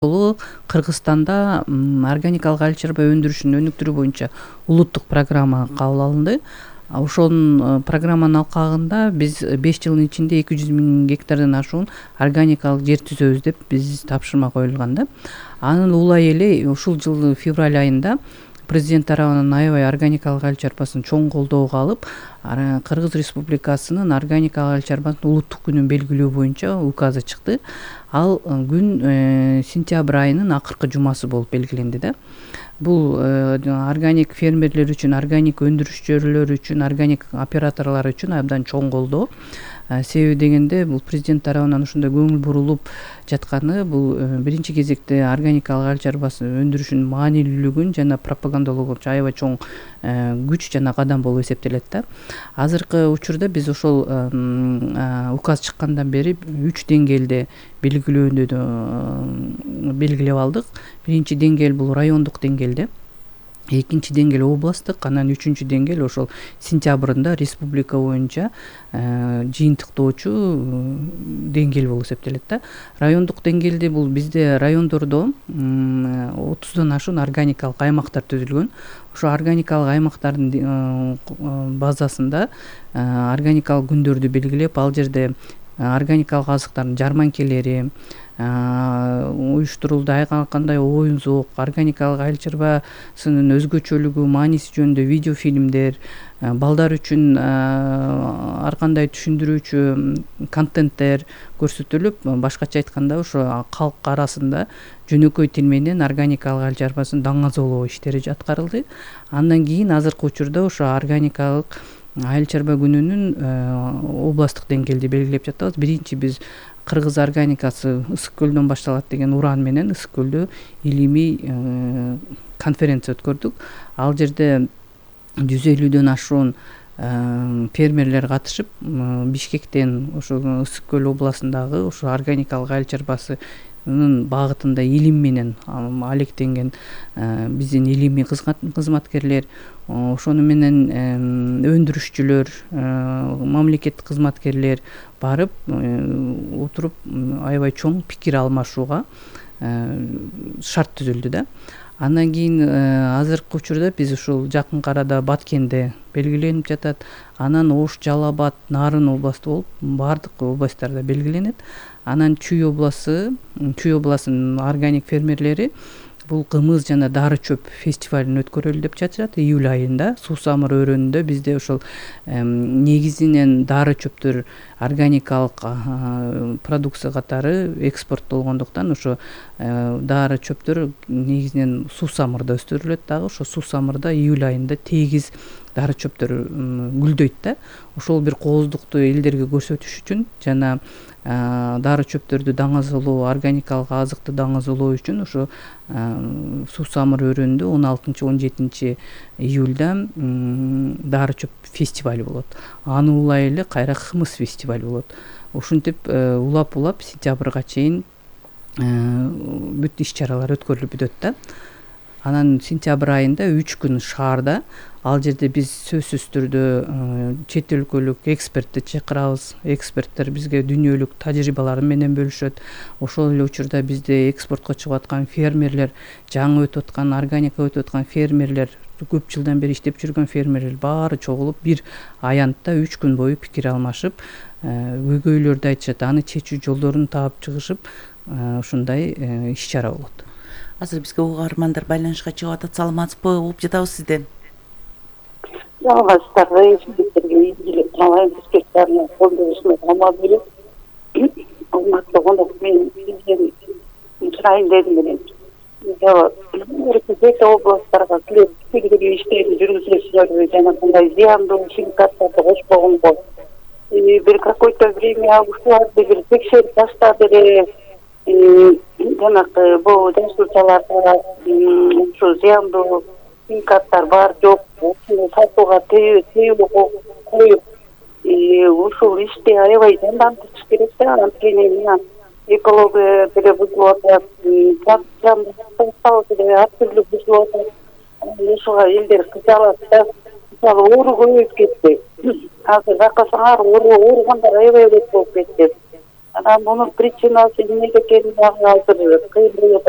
Кыргызстанда органикалык али чарба өндүрүшүн өнүктүрүү боюнча улуттук программа кабыл алынды. Ошонун программанын алкагында биз 5 жылдын ичинде 200 000 гектардан ашуун органикалык жер түзөбүз деп биз тапшырма коюлган да. Анын улай эле ушул жылдын февраль айында президент тарабынан аябай органикалык али чарбасын чоң колдоого алып, Кыргыз Республикасынын органикалык али чарбанын улуттук күнүн белгилөө боюнча указы чыкты. Ал күн сентябрь айынын акыркы жумасы болуп белгиленди да. Бул органик фермерлер үчүн, органик өндүрүшчүлөр үчүн, органик операторлор үчүн абдан чоң колдоо. Себеби дегенде бул президент тарабынан ушундай көңүл бурулуп жатканы бул биринчи кезекте органикалык али чарбасын өндүрүшүнүн маанилүүлүгүн жана пропагандалоого аябай чоң күч жана кадам болуп эсептелет да. Азыркы учурда биз ошол указ чыккандан бери 3 деңгээлде белгилөөндү белгилеп алдык. Биринчи деңгээл бул райондук деңгээлде, экинчи деңгээл областтык, анан үчүнчү деңгээл ошол сентябрында республика боюнча жыйынтыктоочу деңгээл болуп эсептелет да. Райондук деңгээлде бул бизде райондордо 30дан ашуун органикалык аймактар түзүлгөн. Ошо органикалык аймактардын базасында органикалык күндөрдү белгилеп, ал жерде органикалык азыктардын жарманкелери уюштурулду. Ага кандай оюн-зоок, органикалык али чарбасынын өзгөчөлүгү, мааниси жөнүндө видео фильмдер, балдар үчүн ар кандай түшүндүрүүчү контенттер көрсөтүлүп, башкача айтканда ошо калк арасында жөнөкөй тил менен органикалык али чарбасын даңазалоо иштери аткарылды. Андан кийин азыркы учурда ошо органикалык али чарба күнүнүн областтык деңгээлде белгилеп жатабыз. Биринчи биз Кыргыз органикасы Ысык көлдөн башталат деген уран менен Ысык көлдө илимий конференция өткөрдүк. Ал жерде 150дөн ашуун фермерлер катышып, Бишкектен ошо Ысык көл областындагы ошо органикалык али чарбасынын багытында илим менен алектенген биздин илимий кызматкерлер, ошону менен өндүрүшчүлөр, мамлекеттик кызматкерлер барып отуруп аябай чоң пикир алмашууга шарт түзүлдү да. Андан кийин азыркы учурда биз ушул жакынкы арада Баткенде белгиленип жатат. Анан Ош, Жалал Абад, Нарын областы болуп баардык областтарда белгиленет. Анан Чүй областынын органик фермерлери бул кымыз жана дары чөп фестивалын өткөрөлү деп жатышат. Июль айында Суусамыр өрөөнүндө бизде ошол негизинен дары чөптөр органикалык продукция катары экспорттолгондуктан ошо дары чөптөр негизинен Суусамырда өстүрүлөт дагы. Ошо Суусамырда июль айында тегиз дары чөптөр гүлдөйт да. Ошол бир кооздукту элдерге көрсөтүш үчүн жана дары чөптөрдү даңазалоо, органикалык азыкты даңазалоо үчүн ошо Суусамыр өрөөнүндө 16-17 июльда дары чөп фестиваль болот. Аны улай эле кайра кымыз фестиваль болот. Ушинтип улап сентябрга чейин бүт иш чаралар өткөрүлүп бүтөт да. Анан сентябрь айында 3 күн шаарда, ал жерде биз сөзсүз түрдө чет өлкөлүк экспертти чакырабыз. Эксперттер бизге дүйнөлүк тажрыйбалары менен бөлүшөт. Ошол эле учурда бизде экспортко чыгып аткан фермерлер, жаңы өтүп аткан органика өтүп аткан фермерлер, көп жылдан бери иштеп жүргөн фермерлер баары чогулуп бир аянтта 3 күн бою пикир алмашып, көйгөйлөрдү айтышат, аны чечүү жолдорун таап чыгышып, ушундай иш чара болот. Азыр бизге угармандар байланышка чыгып атат. Саламатсызбы? Угуп жатабыз сизди. Жалгасыздарга эсибиттерге ийгилик каалайм. Бизге колдонушуна камал берип, урматтуу конок менен сизден сурайын дедим эле. Бир областтарга киргизүү иштерин жүргүзөсүзөр жана кандай зыяндуу химикаттарды кошпогонго бир какой-то время ушуларды бир текшерип таштап эле жанакы бул жасуучаларда ушу зыяндуу химикаттар бар жок, ушуну сатууга тыюу коюп ушул ишти аябай жандантыш керек да. Анткени экология деле бузулуп атат, продукциябыз деле ар түрдүү бузулуп атат. Ушуга элдер кыялат да. Мисалы, оору көбөйүп кетти. Азыр байкасаңар, ооругандар аябай көп болуп кетти. Анан мунун причинасы эмнеде экени дагы азыр кыйын болуп атат.